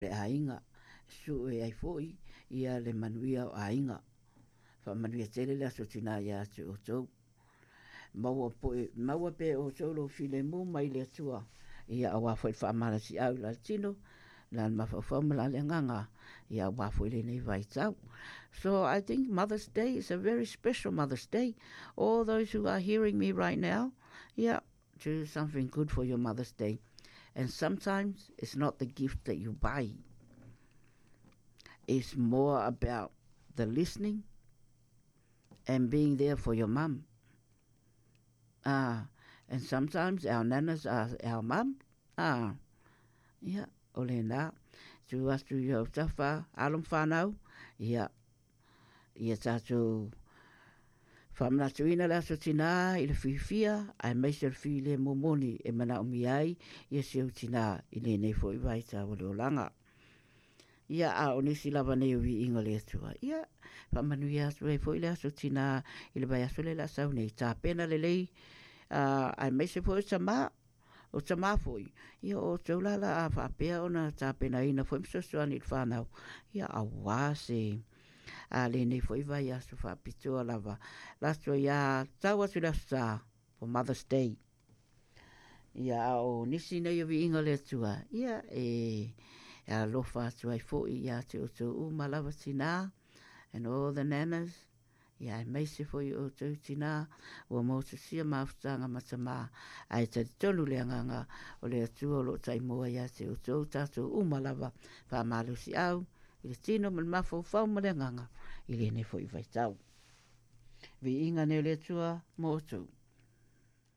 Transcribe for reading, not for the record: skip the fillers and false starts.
Le aiga, sue ai foi ia le manuia o aiga. Faamanuia tele le Aso Tinā ia te outou. Maua, poe, maua pea e outou lou filemu mai le Atua, ia auā foi le faamalosiau i la le tino, la le mafaufau ma la le agaga, ia auā foi lenei vaitau. So I think Mother's Day is a very special Mother's Day. All those who are hearing me right now, yeah, do something good for your Mother's Day. And sometimes it's not the gift that you buy. It's more about the listening and being there for your mum. Ah, and sometimes our nanas are our mum. Ah, yeah, o lena. Tu atu i au tafa, alo ma whanau, ia, ia tātou faamanatuina le Aso Tinā i le fiafia aemaise o le filemu moni e manaomia ai ia si ou tinā i lenei foi vaitau o le olaga. Ia, a o nisi lava nei o viiga o le Atua, ia, faamanuia atu ai foi le Aso Tinā i le vaiaso lea o le a sau nei, tapena lelei, uh, aemaise foi o tamā, o tamā foi, ia o outou la la a faapea ona tapenaina foi ma fesoasoani i le whānau, ia auā se a lenei foi vaiaso faapitoa lava. Lato ia tau atu le aso Sa for Mother's Day. Ia a o nisi nei o viiga o le Atua, ia e alofa atu ai foi ia te outou uma lava tinā and all the nanas, Ia aemaise foi o outou tinā ua motusia mafutaga ma tamā, ae talitonu le agaga o le Atua o lo o taimoa ia te outou tatou uma lava, faamalosiau i le tino ma le mafaufau ma le agaga i lenei foi vaitau. Viiga nei o le Atua mo outou.